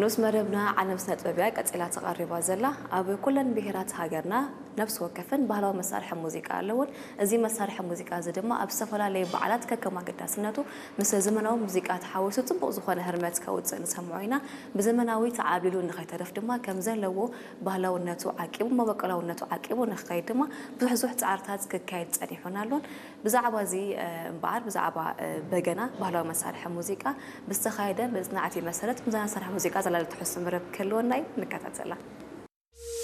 ንኡስ መደብና ዓለም ስነ ጥበብ እያ ቀጺላ ተቐሪባ ዘላ። ኣብ ኩለን ብሄራት ሃገርና ነፍሲ ወከፍን ባህላዊ መሳርሒ ሙዚቃ ኣለውን። እዚ መሳርሒ ሙዚቃ እዚ ድማ ኣብ ዝተፈላለዩ በዓላት ከከም ኣገዳስነቱ ምስ ዘመናዊ ሙዚቃ ተሓዊሱ ጽቡቕ ዝኾነ ህርመት ከውጽእ ንሰምዖ ኢና። ብዘመናዊ ተዓብሊሉ ንኸይተርፍ ድማ ከም ዘለዎ ባህላውነቱ ዓቂቡ፣ መበቆላውነቱ ዓቂቡ ንክኸይድ ድማ ብዙሕ ብዙሕ ጻዕርታት ክካየድ ጸኒሑን ኣሎን። ብዛዕባ እዚ እምበኣር ብዛዕባ በገና ባህላዊ መሳርሒ ሙዚቃ ብዝተኻየደ መጽናዕቲ መሰረት ብዛ መሳርሒ ሙዚቃ ዘላለ ትሕዝቶ መደብ ክህልወና እዩ። ንከታተላ።